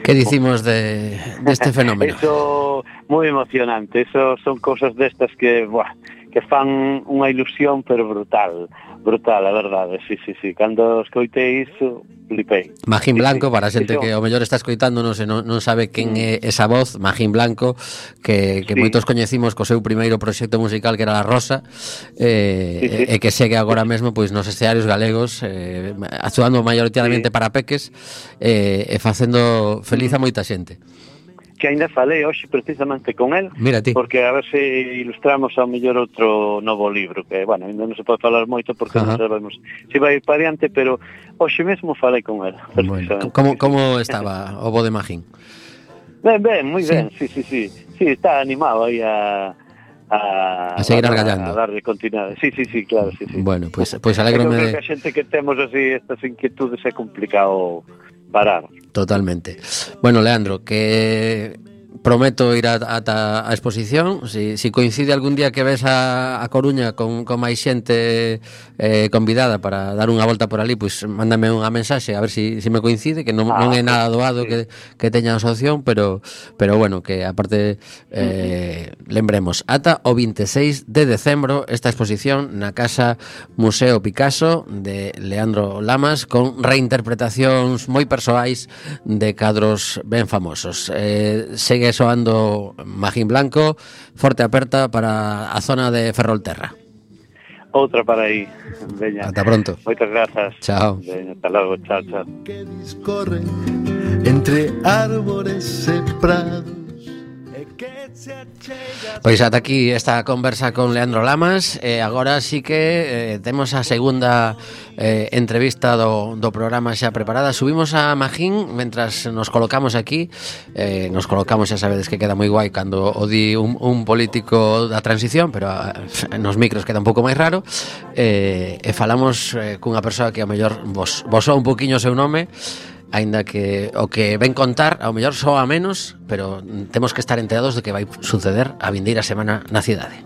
Que dicimos deste fenómeno? Eso, moi emocionante. Eso son cousas destas que, que fan unha ilusión, pero brutal, a verdade, sí. Cando escoitei iso, flipei. Magín Blanco, para a xente que ao mellor está escoitándonos e non sabe quen é esa voz, Magín Blanco, que moitos coñecimos co seu primeiro proxecto musical, que era La Rosa, e que segue agora mesmo pois nos escenarios galegos, actuando maioritariamente para peques, e facendo feliz a moita xente. Que ainda falei hoxe precisamente con el, porque a ver se ilustramos ao mellor outro novo libro, que, ainda non se pode falar moito porque non sabemos se vai ir para diante, pero hoxe mesmo falei con el. Bueno, como estaba o bo de Magín? Ben, moi ben, sí, está animado aí a seguir argallando, a darle continuidade. Sí, claro, sí. Bueno, pois alégrome de que a xente que temos así estas inquietudes é complicado parar. Totalmente. Bueno, Leandro, que prometo ir ata a exposición. Si coincide algún día que ves a Coruña con máis xente convidada para dar unha volta por ali, pois mándame unha mensaxe a ver si me coincide, que non é nada doado que teña asociación, pero bueno, que aparte lembremos, ata o 26 de decembro esta exposición na Casa Museo Picasso de Leandro Lamas, con reinterpretacións moi persoais de cadros ben famosos. Segue soando Magín Blanco, forte aperta para a zona de Ferrolterra. Outra para aí. Veña. Ata pronto. Moitas grazas. Chao. Veña, hasta logo, chao. Que discorre entre árbores e prados. Pois ata aquí esta conversa con Leandro Lamas. Agora sí que temos a segunda entrevista do programa xa preparada. Subimos a Magín mentras nos colocamos aquí. Nos colocamos, xa sabedes que queda moi guai cando o di un político da transición, pero nos micros queda un pouco máis raro. E falamos cunha persoa que ao mellor vos soa un poquinho o seu nome, aínda que o que ven contar ao mellor soa menos, pero temos que estar enterados de que vai suceder a vindeira semana na cidade.